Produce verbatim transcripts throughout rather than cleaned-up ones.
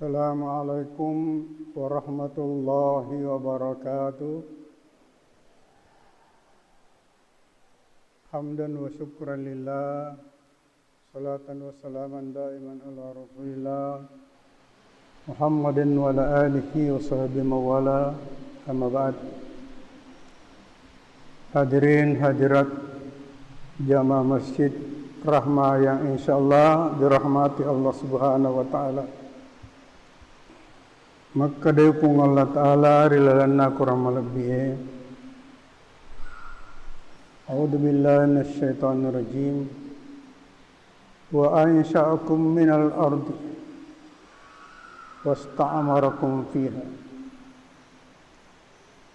Assalamualaikum warahmatullahi wabarakatuh. Hamdan wa syukran lillah, salatan wa salaman daiman ala Rasulillah, Muhammadin wa ala alihi wa sahbihi wa wala, amma ba'd. Hadirin hadirat jamaah Masjid Rahmah yang insyaallah dirahmati Allah Subhanahu wa Ta'ala. Makkedai Puang Allah Ta'ala ri lalenna Akorang malebbi'e, A'udzu billahi minasy syaithanir rajim. Wa ansya'akum minal ardi wasta'marakum fiha.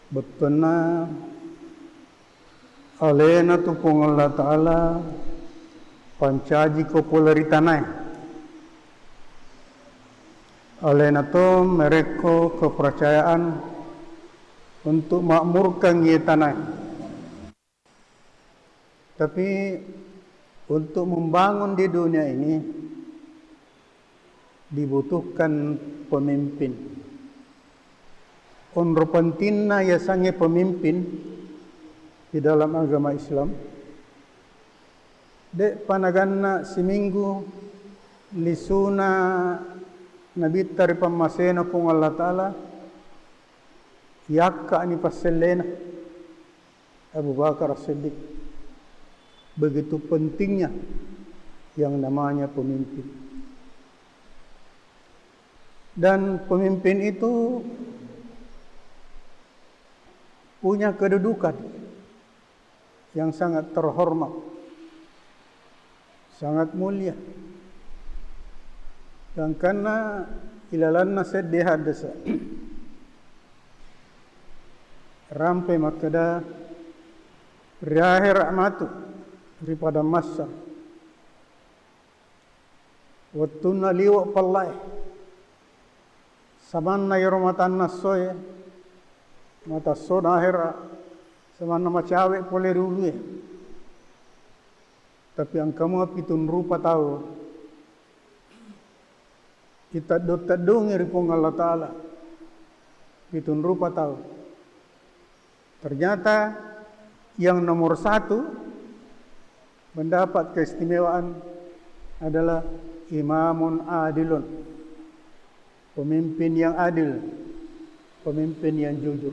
Bettuanna alena tu Puang Allah Ta'ala pancajiko pole ri tanae. Alena to merekko kepercayaan untuk makmurkan iye tanae. Tapi untuk membangun di dunia ini dibutuhkan pemimpin. Onro pentingna yasengnge pemimpin di dalam agama Islam, de'pa naganna siminggu lisuna Nabitta ri pammasena Puang Allah Ta'ala, yakka'ni passellena. Abu Bakar As-Siddiq. Begitu pentingnya yang namanya pemimpin. Dan pemimpin itu punya kedudukan yang sangat terhormat. Sangat mulia. Gangkanna ilalanna sedde haddasa. Rampe makkeda, ri ahera matu, ri padang mahsyar. Wettunna liwe pallae. Samanna iyaro matanna essoe, mata essona ahera, samanna macawe pole ri ulue. Tapi engka mua pitung rupa tau iteddong-teddongi ri Puang Allah Ta'ala. Pitung rupa tau. Ternyata yang nomor satu mendapat keistimewaan adalah imamun adilun, pemimpin yang adil, pemimpin yang jujur.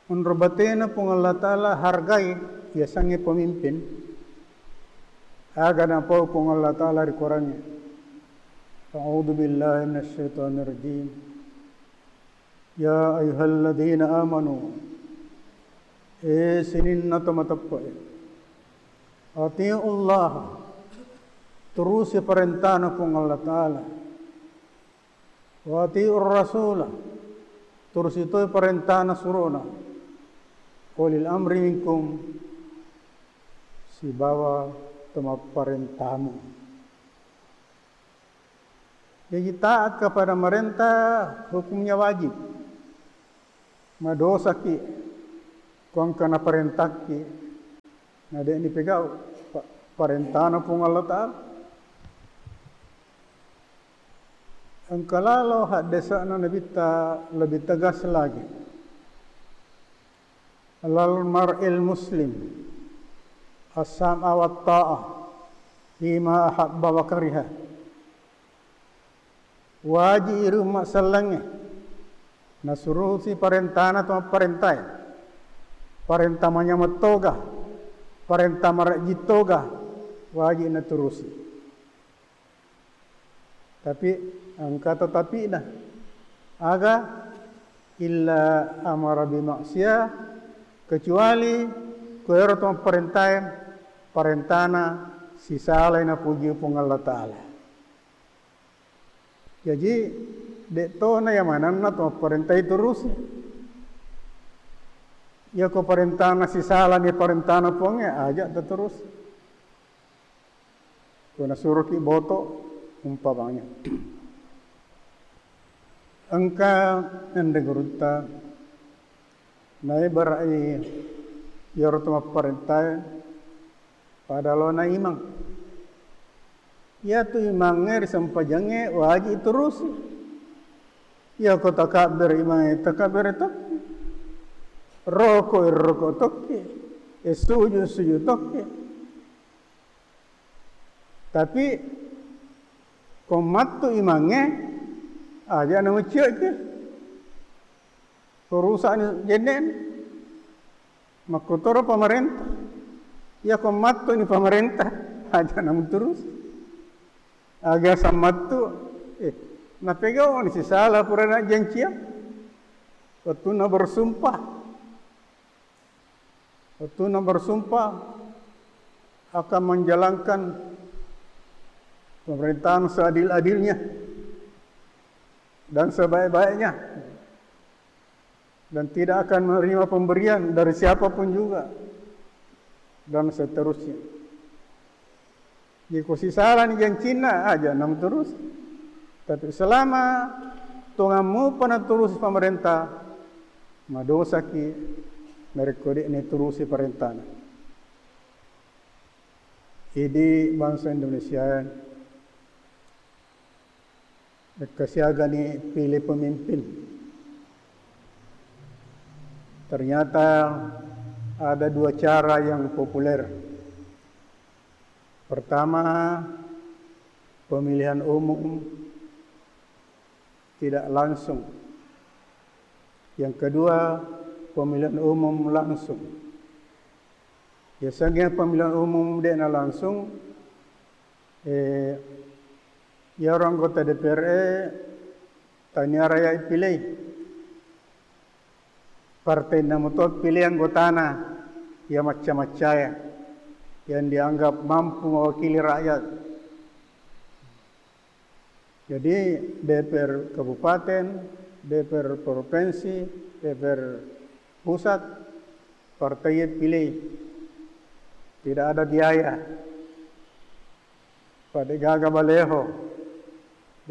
Onro batena Puang Allah Ta'ala hargai yasengnge pemimpin. Aga napau Puang Allah Ta'ala ri Korangnge. A'udzu billahi minasy syaithanir rajim. Ya ayyuhalladzina amanu, e sininna to mateppe'e, atiullaha, turusi parentana Puang Allah Ta'ala, wa atiur rasula, turusi toi parentana surona, ulil amri minkum, sibawa to mapparentamu. Jaji, taat kepada marenta hukumnya wajib. Madosaki ko engka naparentakki, na de'ni pegau pa-, parentana Puang Allah Ta'ala. Engka lalo haddesa'na Nabitta lebih tegas lagi. Alal mar'il muslim as-sam'a wa ta'ah fima ahabba wa kariha. Waji iri umma sellengnge nasurusi parentana to mapparentae. Parenta manyameng toga, parenta marejji toga, waji naturusi. Tapi engka tetapi'na. Aga? Illa amara bimaksiyah, kecuali ko ero to mapparentae, parentana sisalai napuji Puang Allah Ta'ala. Jaji, de'tona iya manenna to mapparentae turusi. Iyako parentana sisalani parentana Puangnge, aja taturusi. Ko nasuroki boto, umpamanya. Engka anre gurutta, naibara'i iyaro to mapparentae pada lona imang. Iyatu imangnge ri sempajangnge waji turusi. Iyako takabbere imangnge takabbere tokki. Roko roko tokki. E suju suju tokki. Tapi ko mattu imangnge aja namucioki. Ko rusakni jennena. Makkotoro pamarenta. Iyako mattuni pamarenta, aja namuturus. Aga sammattu, eh, napegauni sisala purana jancia. Wettunna bersumpah. Wettunna bersumpah akan menjalankan pemerintahan seadil-adilnya dan sebaik-baiknya. Dan tidak akan menerima pemberian dari siapapun juga, dan seterusnya. Jadi, ko sisalani jancinna, aja namuturus. Tapi selama tongammu pernah turusi pemerintah, madosaki narekko de'ni turusi perintahna. Idi bangsa Indonesia, Engka siagani pilih pemimpin. Ternyata ada dua cara yang populer. Pertama, pemilihan umum tidak langsung. Yang kedua, pemilihan umum langsung. Biasanya pemilihan umum de'na langsung, eh, iyaro anggota D P R e tania rakyat ipilih. Partai namuto pilih anggotana yang macca-maccaya, yang dianggap mampu mewakili rakyat. Jadi, D P R kabupaten, D P R provinsi, D P R pusat, partai pilih. Tidak ada biaya. Pada gaga baleho,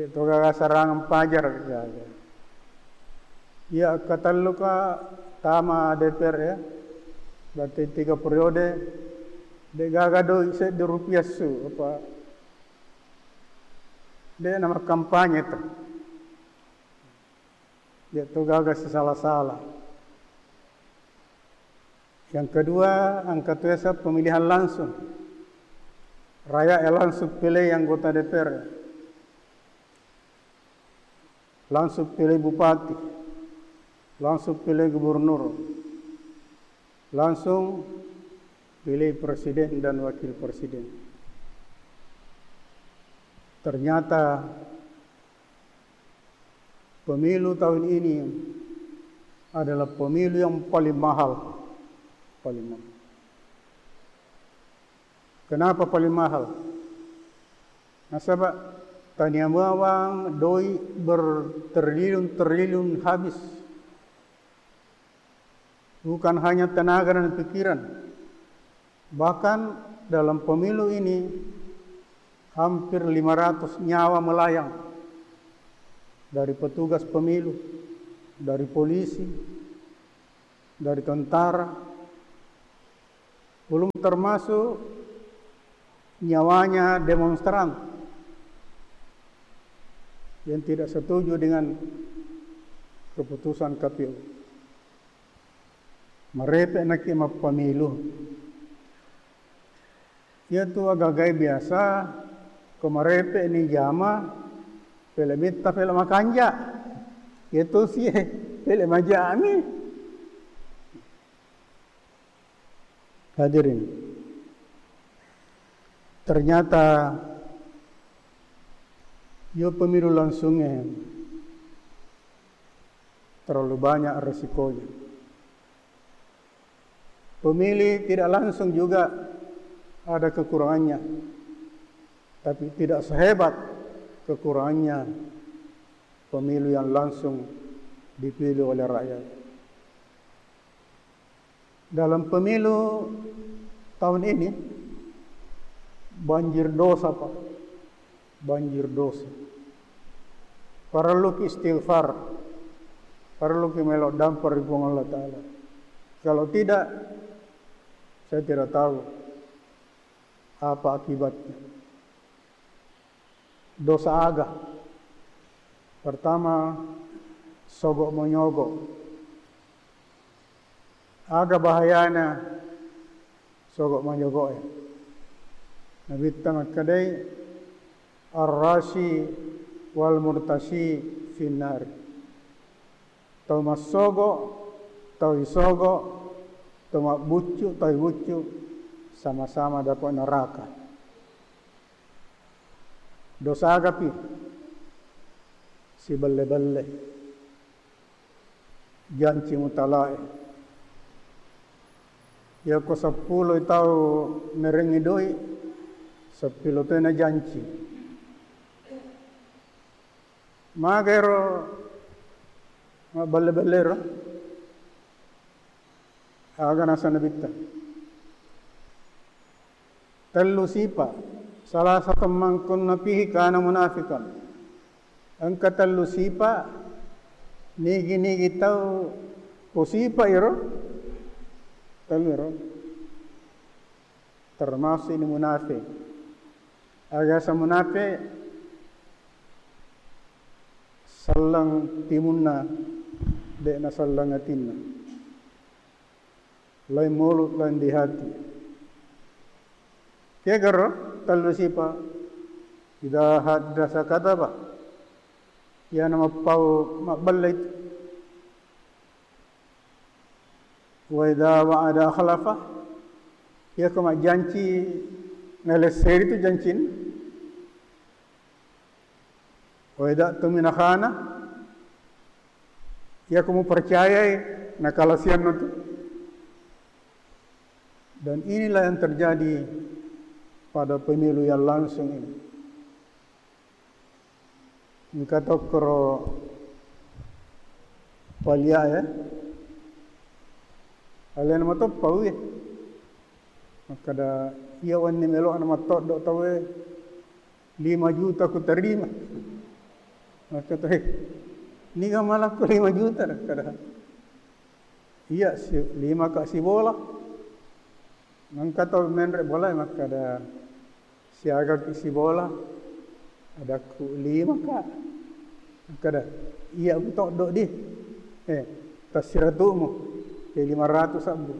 de' to gaga serangan pajar gaga. Iya, katelluka tama D P R ya, berarti tiga periode, de' gaga doi seddi rupiah su, apa, de' nama kampanye tu. De' to gaga sisala-sala. Yang kedua, engka tu yaseng pemilihan langsung. Rakyat yang langsung pilih anggota D P R. Langsung pilih bupati. Langsung pilih gubernur. Langsung pilih presiden dan wakil presiden. Ternyata pemilu tahun ini adalah pemilu yang paling mahal. Paling mahal. Kenapa paling mahal? Nasaba tania bawang doi bertriliun-triliun habis. Bukan hanya tenaga dan pikiran. Bahkan dalam pemilu ini hampir lima ratus nyawa melayang. Dari petugas pemilu, dari polisi, dari tentara, belum termasuk nyawanya demonstran yang tidak setuju dengan keputusan K P U. Marepe' naki mappamilu. Iyatu agagai biasa, ko marepe' ni jama, pele' mitta, pele' makanja. Iyatu sie, pele' majami. Hadirin, ternyata yo pemilu langsungnya terlalu banyak resikonya. Pemilih tidak langsung juga ada kekurangannya, tapi tidak sehebat kekurangannya pemilu yang langsung dipilih oleh rakyat. Dalam pemilu tahun ini, banjir dosa, Pak. Banjir dosa. Parelluki istighfar. Parelluki melo dampar ri Puang Allah Ta'ala. Kalau tidak, saya tidak tahu apa akibatnya. Dosa aga? Pertama, sogo monyogo. Aga bahayana sogo monyogoe? Nabitta makkedai, "Ar-rashi wal murtashi finnar." Tau massogo, tau isogo, tau mabbuccu, tau ibuccu, sama-sama dapat neraka. Dosa agapi? Sibelle-belle, janci mutalae. Yako seppulo tau merengngi doi, seppulo tena janci. Maga ero mabbelle-bellero? Aga naseng Nabitta? Tellu sipa, salasatu man kunna fihi kana munafiqan. Engka tellu sipa, nigi-nigi tau ko sipa iro, tellu iro, termasuk ini munafik. Aga sa munafik? Selleng timunna, de' naselleng atinna. Lain mulut, lain di hati. Kegaro tellu sipa? Idza haddasa kadzaba. Iyana mappau mabbelle itu. Wa idza wa'ada akhlafa. Iyako majjanci, nalesseri tu jancinna. Wa idza tumina khana. Iyako mupercayai, nakalasianna tu. Dan inilah yang terjadi pada pemilu yang langsung ini. Engka tokkoro palia, ya. Alena matoppa uwi. Makkada, iya wenni melo'na mattoddo tauwe, lima juta kuterima. Makkada, "Hei, niga malakko lima juta?" Makkada, "Iya, si-, lima ka sibola." Engka tau menre' bola, makkada, "Siaga ki sibola?" Adakku, "Lima ka." Makkada, "Iya mutoddo di." Eh, tassiratu'mu. Eh, lima ratu sabbu.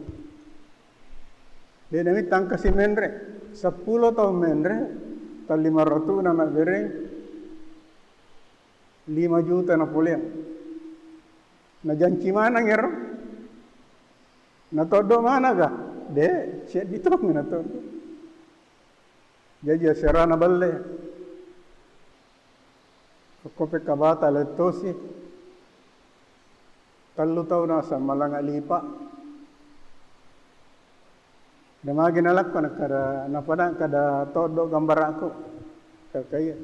De' namitta engka si menre', seppulo tau menre', tau lima ratu na nabbereng, lima juta napoleang. Najanci maneng ero? Natoddo maneng ga? De', seddi tong natoddo. Jaji aserana belle. Okko pekkabata lettosi. Tellu tau naseng malanga lipa. Namagi nalakko, nakkada, napada kada toddo gambarakku. Kakaiya.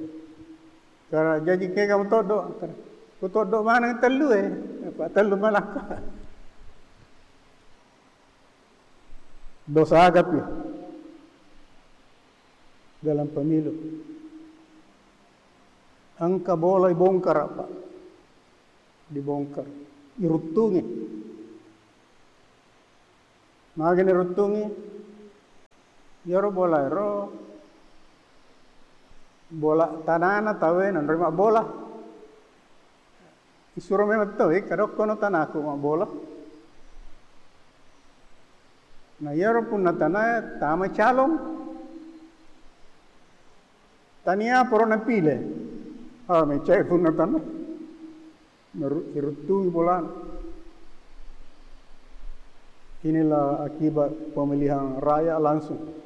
Kara jaji kega mutoddo? Kara, kutoddo maneng tellu e. Apa tellu malakko? Dosa agapi dalam pemilu? Engka bola ibongkar, Pak. Dibongkar. Iruttungi. Magani ruttungi? Iyaro bola ero, bola tanana tauwe nanroi mabbola. Isuro memang toi, kadokkono tanaku mabbola. Na iyaro punna tanae tama calon. Tania poro napile. Ah, mecai punna tana. Meru-, iruttui bolana. Inilah akibat pemilihan raya langsung.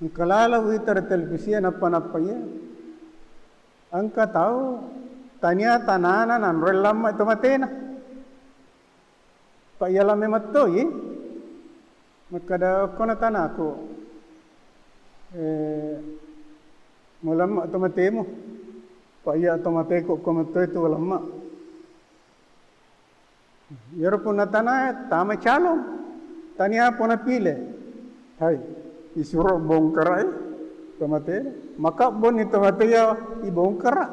Engka lalo wita ri televisia nappa-nappa iya. Engka tau tania tanana nanroi lamma to matena. Pa iya lamma mattoi. Makkada, "Okkona tanaku, eh, mulamma to matemu." Pa iya to mateku ko mattoi tu lamma. Iyaro punna tanae tama calon, tania pona pile. Hai, isuro bongkarai to mate. Maka bonni to mate ya ibongkara.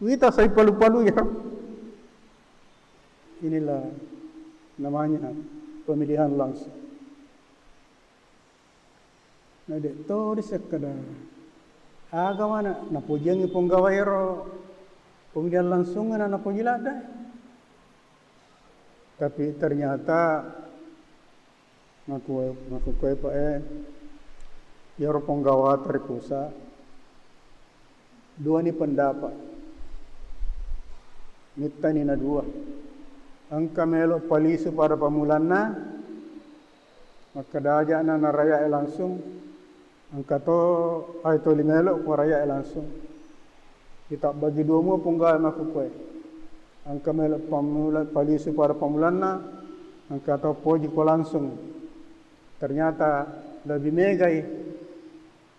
Wita sai palu-palu ya. Inilah namanya pemilihan langsung. Na de' to risekkeda Aga mana napojiangngi ponggawa ero pemilihan langsung na napoji ladde. Tapi ternyata makkue-, makkukue pa e, iyaro ponggawa ri pusat, duani pendapat. Mittani na dua. Engka melo palisu pada pammulanna, makkeda aja na, na rakyat e langsung, engka to ai toli melo ko rakyat e langsung. Kita bagi dua mua punggawa makkukue. Engka melo pammula, palisu pada pammulanna, engka to poji ko langsung. Ternyata lebih megai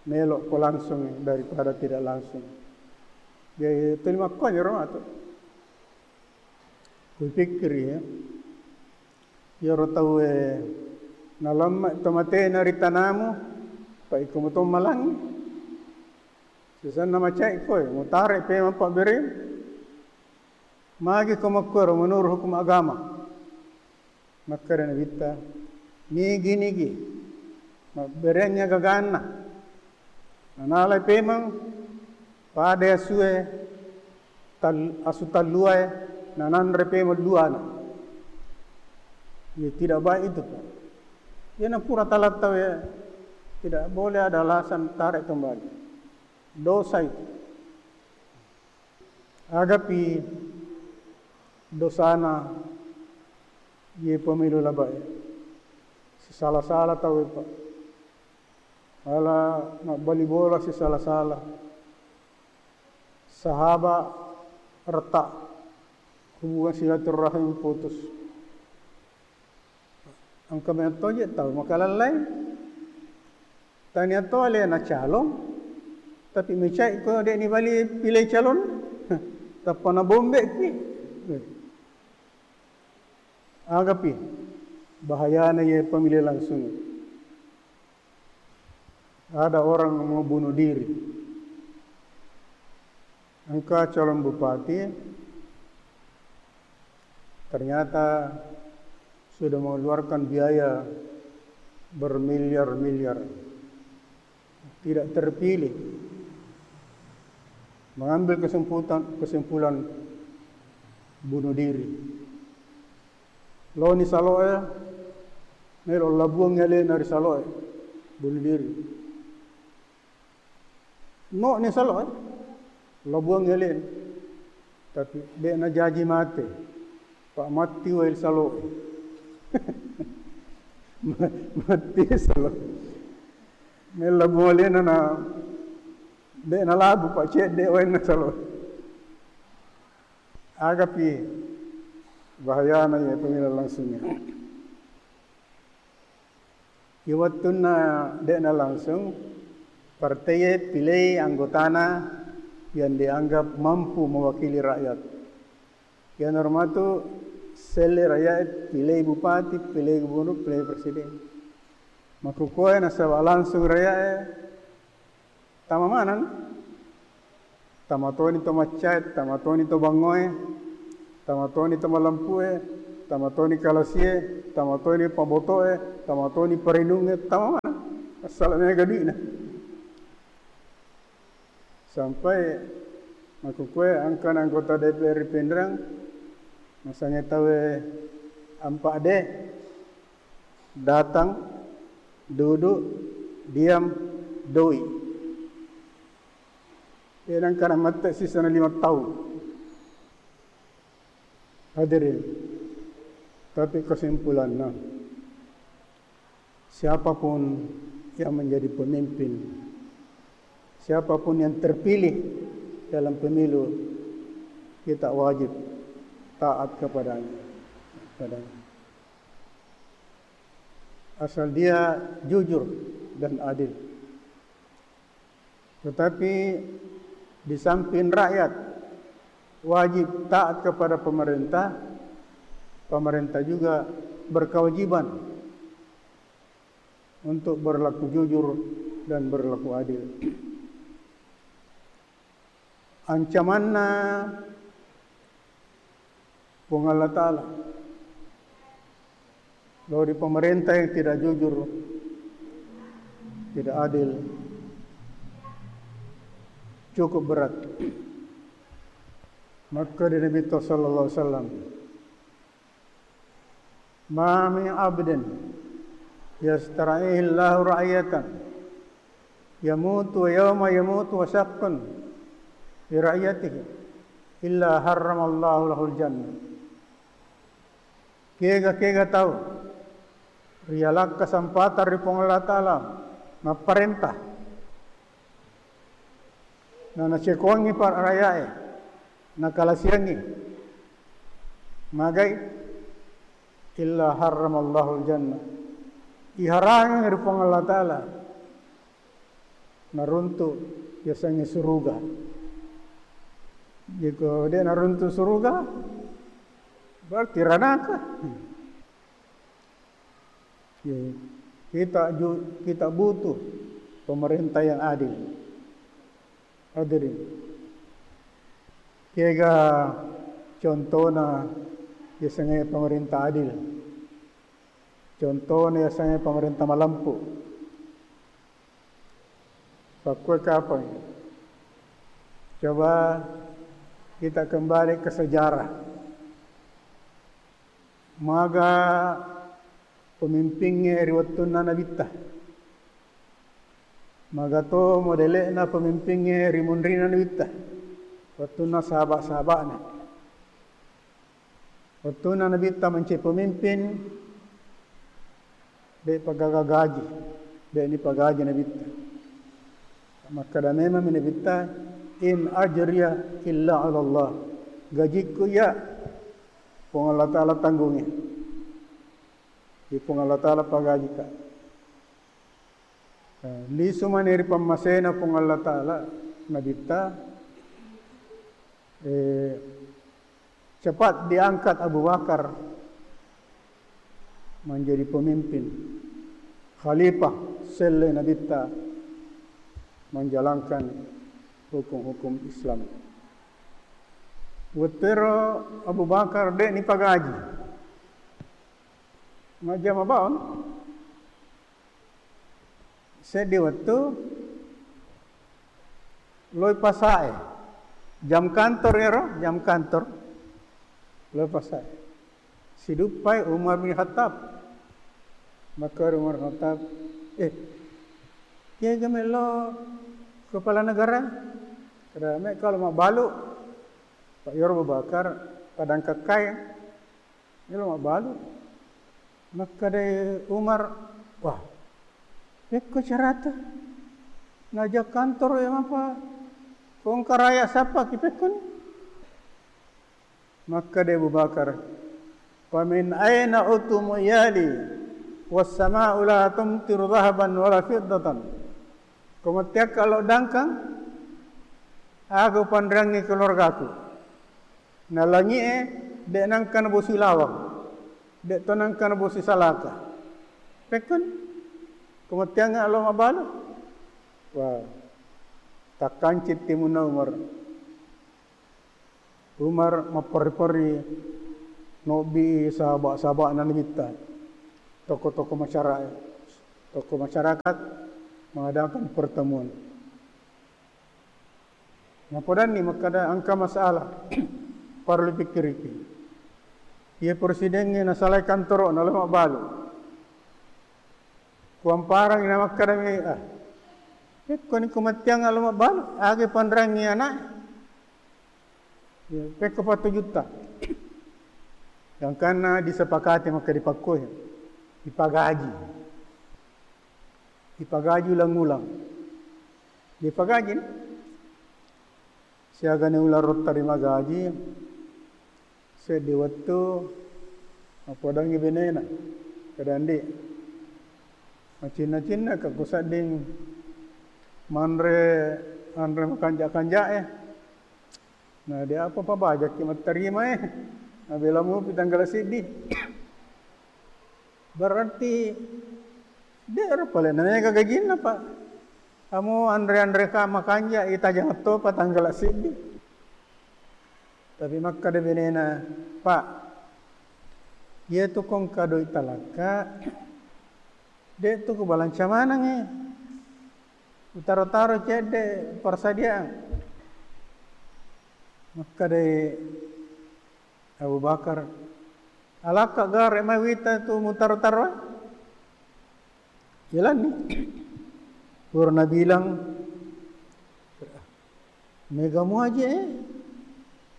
melo ko langsung daripada tidak langsung. Jadi tuli makkoniro atu. Kupikkiri, ya. Iyaro tauwe nalamma to matena ri tanamu, pa iko muto malangngi. Sisenna macai koe, mutare pemeng pabberem. Magi ko makkuero menurut hukum agama? Makkeda Nabitta, nigi-nigi mabberengngi gaganna. Nanalai pemeng pada asue tal-, asu talluae, nananre pemeng luana. Ya, tidak baik itu, Pak. Ya, na pura talat tau ya, tidak boleh ada alasan tarik kembali. Dosa itu. Agapi dosana ye pemilu labae. Sisala-sala tau, Pak. Ala mabbali bola sisala-sala. Sahaba retak, hubungan silaturrahim putus. Engka meto je tau makalallai. Tania to alena calon, tapi mecai ko de ni bali pilih calon. Tappa na bombe ki. Agapi bahayana ye pemilih langsung. Ada orang mau bunuh diri. Engka calon bupati, ternyata sudah mengeluarkan biaya bermiliar-miliar. Tidak terpilih. Mengambil kesimputan-, kesimpulan bunuh diri. Loni saloe, melo labuang alena ri saloe, bunuh diri. No ni saloe, labuang alena. Tapi de najaji mate. Pak matti wae saloe. Ma-, matti saloe. Melo labuang alena na de nalabu, Pak, cedde wae na saloe. Agapi bahayana ye pemilihan langsungnya. Iya wettunna de'na langsung, partai e pilei anggotana yang dianggap mampu mewakili rakyat. Iyanaro matu selle rakyat e pilei bupati, pilei gubernur, pilei presiden. Makkukkoe nasaba langsung rakyat e, tama maneng. Tama toni to maccae, tama toni to bangngoe, tama toni to malempue, tama toni kalasie, tama toni pabotoe, tama toni parinungnge, tama maneng. Assala mega dui'na. Sampai makkukkoe engkana anggota D P R ri Pinrang, masange tauwe empat D, datang, duduk, diam, doi. Iya, nangkana mette sisana lima taung. Hadirin, tapi kesimpulanna, siapapun yang menjadi pemimpin, siapapun yang terpilih dalam pemilu, kita wajib taat kepadanya, kepadanya. Asal dia jujur dan adil. Tetapi di samping rakyat wajib taat kepada pemerintah, pemerintah juga berkewajiban untuk berlaku jujur dan berlaku adil. Ancamanna Puang Allah Ta'ala. Lao ri pemerintah yang tidak jujur, tidak adil, cukup berat. Makkeda Nabitta sallallahu alaihi wasallam, "Ma min abdin yastar'ihi Allahu ra'iyatan yamutu wa yauma yamutu wa syaqqun fi ra'iyatihi illa harramallahu lahul jannah." Kega-kega tau rialakka sampatang ri Puang Allah Ta'ala mapparenta, na nacekoangngi pa-, rakya'e, nakalasiangngi, magai, illa harramallahu jannah, iharangngi ri Puang Allah Ta'ala naruntu' yasengnge suruga. Jeko de' naruntu' suruga, berarti ranaka. Ye, kita ju-, kita butuh pemerintah yang adil. Hadirin. Kega contona yasengnge pemerintah adil? Contona yasengnge pemerintah malempu. Pakkue kapang? Coba kita kembali ke sejarah. Maga pemimpingnge ri wettunna Nabitta? Maga to modele'na pemimpingnge ri munrina Nabitta? Wettunna sahaba-sahaba'na. Wettunna Nabitta mancaji pemimpin, de' pagaga gaji, de' nipagaji Nabitta. Makkeda memang Nabitta, "In ajriya illa 'ala Allah." Gajikku iya Puang Allah Ta'ala tanggungi. Di Puang Allah Ta'ala pagajika. Eh, lisu mani ri pammasena Puang Allah Ta'ala, Nabitta, eh, cepat diangkat Abu Bakar menjadi pemimpin, khalifah selle Nabitta menjalankan hukum-hukum Islam. Wettero Abu Bakar de' nipagaji. Majjama baun. Seddi wettu loi pasae. Jam kantor ero, jam kantor. Loi pasae. Siduppai Umar bin Khattab. Makkeda Umar Khattab, "Eh, kega melo kepala negara?" Keda, "Me' kalo mabbalu." Pak Yor Abu Bakar, padang kakkai. Elo mabbalu. Makkeda Umar, "Wah, pekko carata. Naja kantor ya mapa kongkaraya sapa ki pekko ni?" Makkeda Abu Bakar, "Famin aina utumu iyali was sama'u la tumtiru dhahaban wala fiddatan." Ko matteakka lo dangkang, aga upanreangngi keluargaku. Na langi'e de' nangka nabosi lawang, de' to nangka nabosi salaka. Pekkun, ko matteangnga lo mabbalu. Wah, takkancit timunna Umar. Umar mapperri-perri nobbi sahaba-sahabana Nabitta, tokoh-tokoh masyarakat, tokoh masyarakat mengadakan pertemuan. Napodanni makkeda engka masalah parellu pikkiriki. Iya presidengnge nasalai kantoro'na lo mabbalu. Kuamparangngi namakkeda mi, ah, pekkoni ko matteang lo mabbalu, aga panreangngi ana'e. Ya, pekko patujutta. Gangkanna disepakati makkeda dipakkoe, dipagaji. Dipagaji ulang-ulang. Dipagaji, siagani ulang rottarima gaji, seddi wettu, mapodangngi benena, kedandi. Macinna-cinnaka kusedding manre anre makanja-kanjae. Na, de apa pabajakki mattarima e. Nabela mupi tanggala siddi. Berarti de ero pale na mega gajinna, Pak. Kamu anre-anre ka makanja, itajang topa tanggala siddi. Tapi makkeda benena, "Pak, iya tu kongka doi talakka, de tu kubalanca manengngi. Utaro-taro cedde persediaan. Makkedai Abu Bakar, "Alakka gare mai wita tu mutaro-taro?" Jalanni. Pura nabilang, "Mega muaje, eh?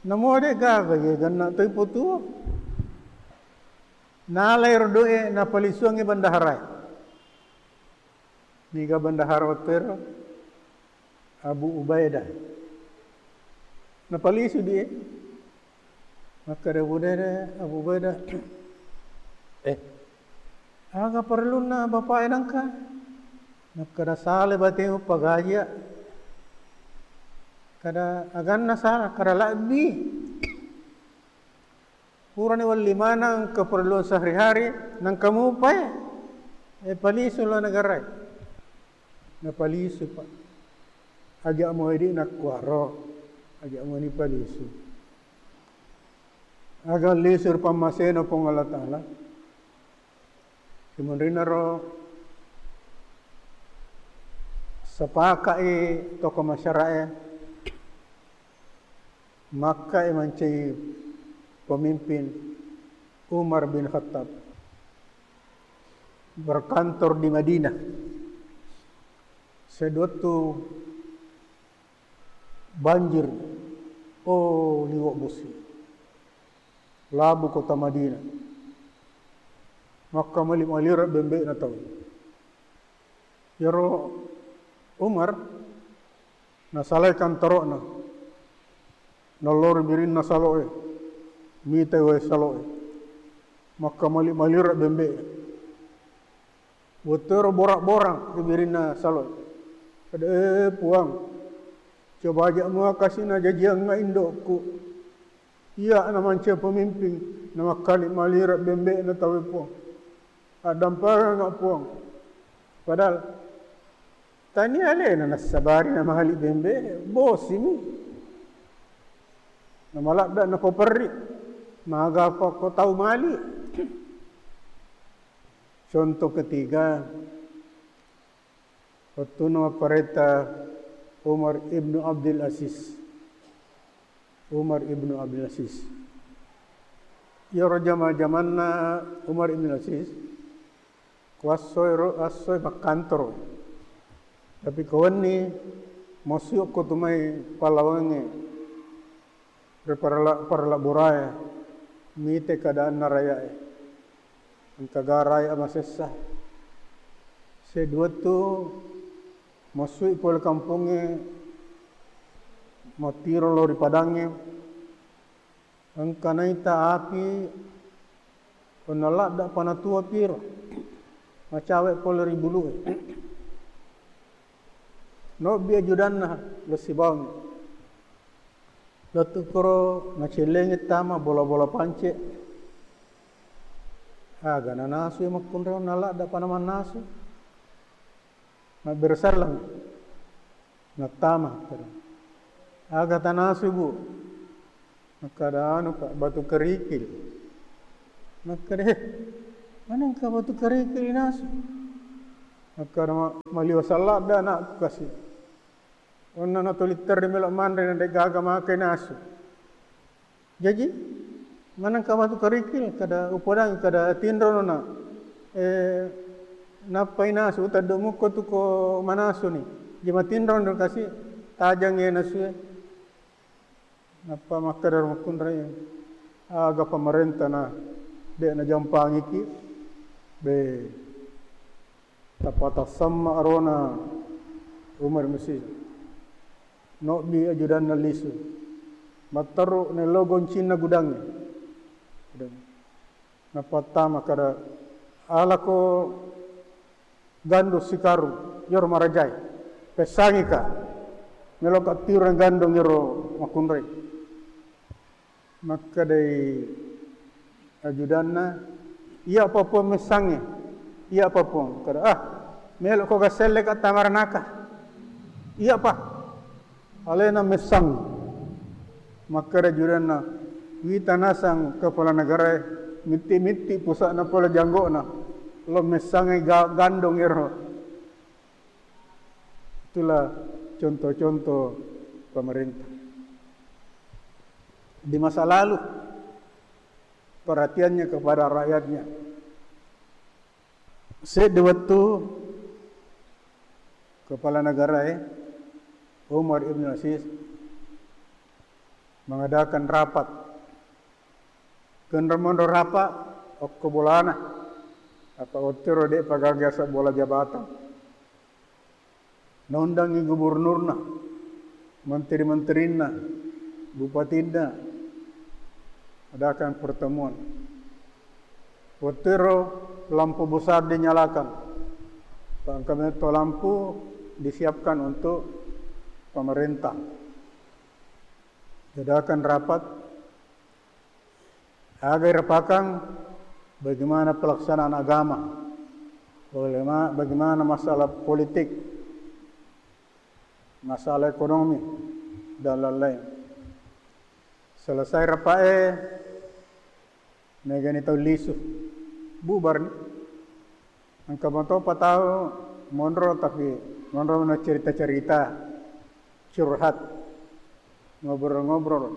Namo de gaga je ganna toi potuo." Nalai ro doe, napalisuangi bendaharae. Niga bendahara wettuero? Abu Ubaidah. Napalisu die. Makkeda Abu Ubaidah, Abu Ubaidah, "Eh, aga parellunna bapak e nangka?" Makkeda, "Sale batemu pagajia." Kada aganna sala, kada labbi. Purani welli maneng keperluan sehari-hari, nangka mupai, eh, palisu lo negarae. Napalisu, Pak. Aja' muaidi nakkuaro, aja' muani palisu. Aga lisu ri pammasena Puang Allah Ta'ala. Simunrinaro sepaka'i tokoh masyarakat e, makkai mancaji pemimpin Umar bin Khattab, berkantor di Madinah. Seduwettu banjir, oh, liwa' bosi. Labu kota Madinah. Makkamali-malira bembe'na tau. Iyaro Umar nasalai kantoro'na. Nallori birinna salo'e. Mitai wae salo'e. Makkamali-malira bembe'na. Wettuero bora-bora ri birinna salo'e. Kada, "Eh, Puang, coba aja' mua kasi' najajiangnga indo'ku. Iya' namancaji pemimpin, namakkali-malira bembe'na tauwe, Puang. Addampenganga, Puang." Padahal tania alena nassabari namali bembe, bosimi. Namaladda napaperri, magapa ko tau mali. Contoh ketiga, wettunna mapparenta Umar ibnu Abdul Aziz. Umar ibnu Abdul Aziz. Iyaro jama-, jamanna Umar ibnu Aziz, ko assoi ro-, assoi makkantoro. Tapi ko wenni, massu'ko tu mai pallawangnge. Ri parala-, paralabborae, mite keadaanna rakya'e. Engka ga rakya'e masessa. Seduwettu massui pole kampongnge, mattiro lao ri padangnge. Engka naita api, onna ladda panatua piro, macawe pole ri bulu'e. Nobbi ajudanna, lo sibawangngi. Lettu koro nacellengi tama bola-bola pance. Aga nanasui makkunrai, onna ladda pa namannasu. Mabbere sallang. Nattama. Aga tanasu, Bu? Makkada, anu, Pak, batu kerikil. Makkada, "Eh, manengka batu kerikil inasu?" Makkada, "Ma-, maliwa salladda anakku kasi. Onna natuli terri melo manre na de gaga maka inasu." Jaji, manengka batu kerikil, kada upodangi, kada tinrono na, eh, nappa inasu, uteddu mukko tu ko manasuni. Ji matinrono kasi, tajang e nasue. Nappa makkeda ro makkunrai, "Aga pamarenta na de najampangiki?" Be. Tappa tassamma arona Umar Mesir. Nobbi ajudanna lisu. Matteru nello goncinna gudangnge. Gudang. Napattama kada, "Alako gandung sikarung, iyaro marajae. Pessangika. Meloka tireng gandung iyaro makkunrai." Makkedai ajudanna, "Iyapa Puang messangnge? Iyapa Puang?" Kada, "Ah, melokko gasselleka tamaranaka. Iyapa? Alena messang." Makkeda ajudanna, "Wita nasang kepala negarae, mitti-mitti pusa'na pole janggo'na. Lo messangnge ga-, gandong ero." Itulah contoh-contoh pemerintah. di masa lalu perhatiannya kepada rakyatnya. Seddi wettu kepala negarae Umar ibn Aziz mengadakan rapat. Kenro monro rapat okko bolana, apa ottero de' pagaga bola jabatan. Naundangngi gubernurna, menteri-menterinna, bupatinna, adakan pertemuan. Wettuero lampu besar dinyalakan. Engka metto lampu disiapkan untuk pemerintah. Diadakan rapat, aga irapakang bagaimana pelaksanaan agama, bagaima-, bagaimana masalah politik, masalah ekonomi, dan lain-lain. Selesai rapae, megani tau lisu, bubar ni. Engka matopa tau monro, tapi monro na cerita-cerita, curhat, ngobrol-ngobrol.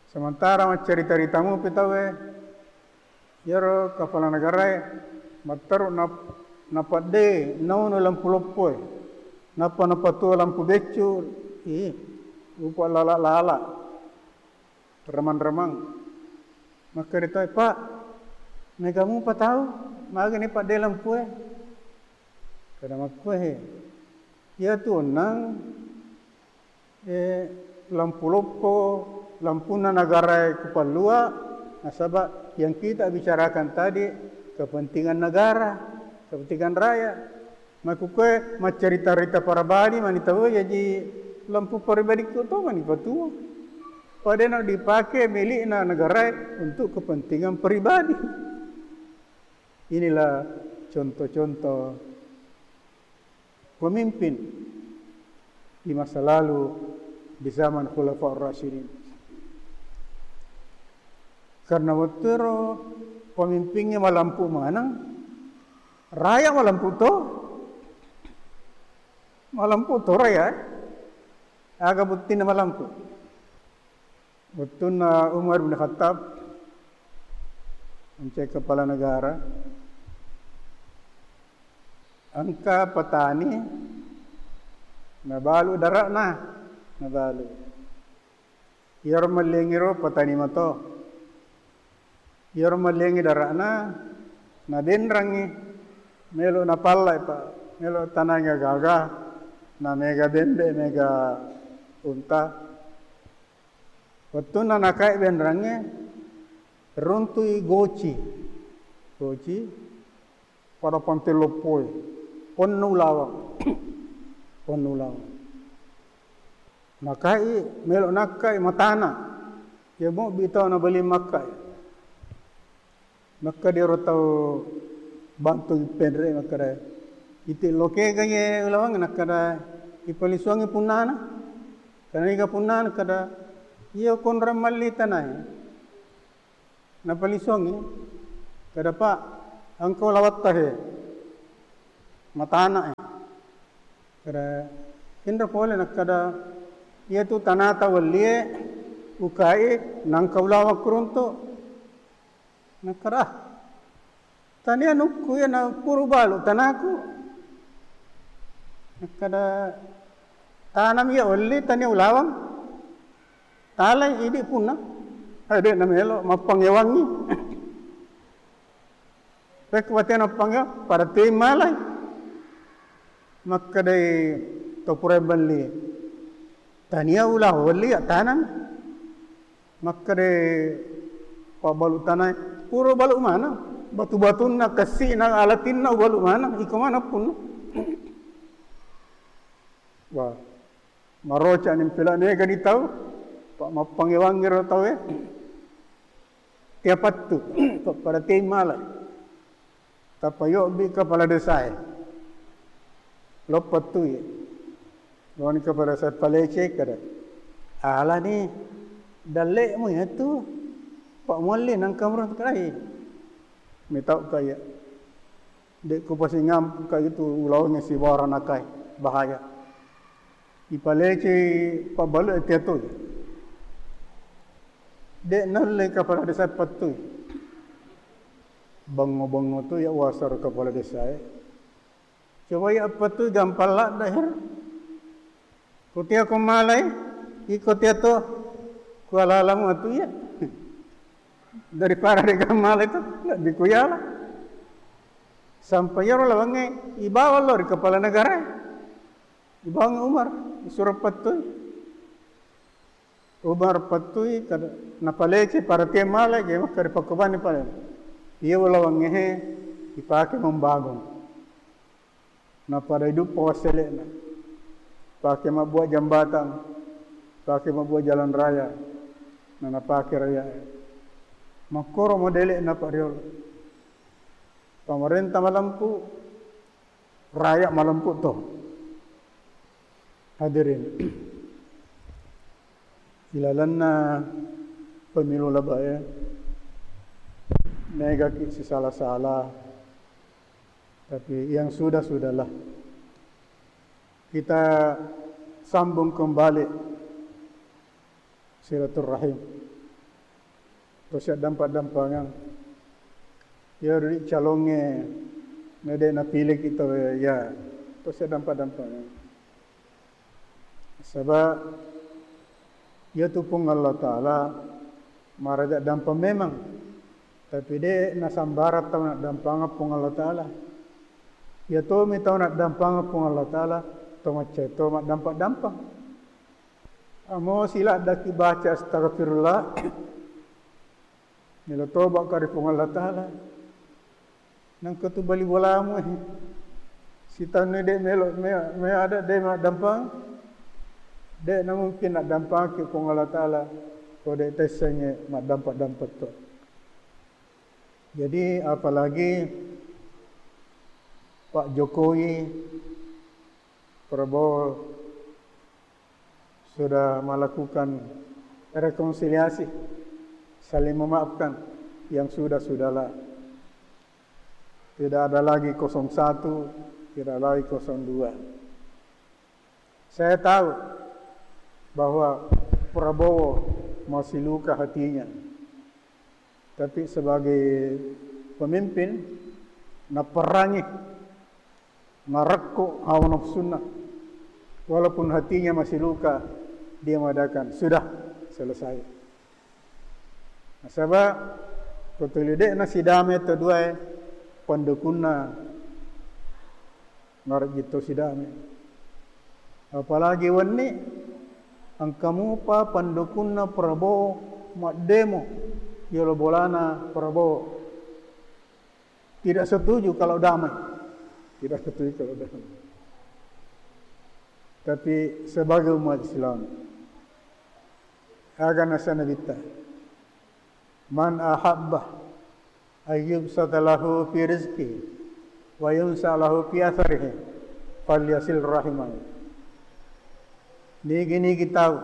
Sementara maccarita-rita mupi tauwe, iyaro kepala negarae matteru nap-, napadde naunu lampu loppoe, nappa napatuo lampu beccu, ih, rupa lala-lala, remang-remang. Makkeda tauwe, "Pak, mega mupa tau, magani padde lampue?" Kada makkue, iyatu onnang eh, lampu loppo, lampunna negarae kupallua, nasaba yang kita bicarakan tadi kepentingan negara, kepentingan rakyat. Makkukue maccarita-rita parabadi mani tau, jaji lampu paribadikku to mani patuo. Padahal dipake milikna negarae untuk kepentingan pribadi. Inilah contoh-contoh pemimpin di masa lalu di zaman Khulafaur Rasyidin. Karena wettero pemimpinnya malampu maneng, raya malampu to, malampu to raya, eh. Aga buttina malampu. Wettunna Umar bin Khattab, mencai kepala negara, engka petani nabalu dara'na, nabalu. Iyaro melliangiro petani mato. Iyaro melliangi dara'na, nabenrangngi, melo napallai, Pak, melo tanangi gaga, na mega bembe, mega unta. Wettunna nakai benrangnge, runtui goci. Goci, pada pante loppoe, ponnu ulaweng. Ponnu ulaweng. Nakai, melo nakkai matana. Iya mobbi tau nabali makkai. Makkeda ero tau bantu penre, makkeda, "Iti lokega ye ulaweng?" Nakkeda, "Ipalisuangi punnana." Karena iga punnana, kada, "Iya konrang malli tanae." Napalisuangi, kada, "Pak, engka ulawatta he, matana e." Kada, kenro pole, nakkeda, "Iyatu tanata wellie ukai, nangka ulaweng kuruntu." Nakkeda, "Ah, tania anukku iya, na puru balu tanaku." Nakkeda, "Tanam iya welli, tania ulaweng. Talai idi punna." Eh, de namelo, mappangewangi. Pekko batena mappangewa, pada tei malai. Makkedai to pura belli, "Tania ulaweng welli, ya tanam." Makkeda pabbalu tanae, "Pura balu maneng, batu-batunna, kessi'na, alatinna ubalu maneng, iko maneng punna." Wah, maroca ni pela, mega ni tau, pa mappangewangi ro tau e. Tiapattu, pa-, pada tei malai. Tappa yobbi kepala desa e. Loppettui. Loni kepala desa palece kada. "Alani dalle'mu iyatu. Pak mualli nangka murah kai." Mitau kaya. Dekku pasingampu ka itu ulaunya si bawara nakai. Bahaya. Ipalecei pabbalu e tiatoi. De' naulle kepala desa pettui. Bengo-bengo tu iya uwasaro kepala desa e. Coba iya pettui gampang ladde' hero. Ko tea ko malai, iko tea to kualalamu atu iya. Daripada de' gampang malai tu, lebbi kuyala. Sampai iyaro lawangnge ibawa lao ri kepala negara e. Ibawa Umar, isuro pettui. Umar pettui, napalece pada tea malai, je makkeda pakkobani pale. Iya ulawangnge he ipake membangun. Napada iduppa wassele'na. Pake mabbuat jambatan, pake mabbuat jalan raya, na napake raya e. Makkoro modele'na Pak riolo. Pamarenta malempu, raya malempu to. Hadirin, ilalenna pemilu labae, megaki sisala-sala, tapi yang sudah-sudahlah. Kita sambung kembali silaturrahim. Tosi addampa-dampangeng. Iyaro ri calongnge na de' napiliki tau iya, tosi addampa-dampangeng. Saba' iyatu Puang Allah Ta'ala maraja dampang memang, tapi de' nasambarang tau naddampangeng Puang Allah Ta'ala. Iya tomi tau naddampangeng Puang Allah Ta'ala, to maccai to maddampa-dampang. Amo siladdaki baca astagfirullah, melo toba' ka ri Puang Allah Ta'ala. Nangka tu bali bolamu e. Sitanni de' melo, me, me ada de' maddampang. De' namungkin naddampangki Puang Allah Ta'ala ko de' tessengnge maddampa-dampa to. Jadi apalagi Pak Jokowi, Prabowo sudah melakukan rekonsiliasi, saling memaafkan, yang sudah-sudahlah. Tidak ada lagi kosong satu, tidak lagi kosong dua. Saya tahu bahwa Prabowo masih luka hatinya. Tapi sebagai pemimpin, naperangi, narekko hawa nafsunna. Walaupun hatinya masih luka, dia mengatakan, "Sudah, selesai." Nasaba' ko tuli de' nasidame to duae, pendukunna narejji to sidame. Apalagi wenni engka mupa pendukunna Prabowo maddemo yolo bolana Prabowo. Tidak setuju kalau damai. Tidak setuju kalau damai. Tapi sebagai umat Islam, aga nasana Nabitta, "Man ahabba ayyubsata lahu fi rizqihi wa yunsa lahu fi atharihi, falyasil rahimahu." Nigi-nigi tau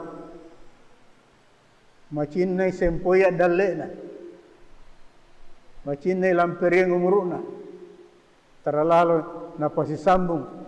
macinnai sempoi addalle'na, macinnai lamperiang umuru'na, terlalu napasisambung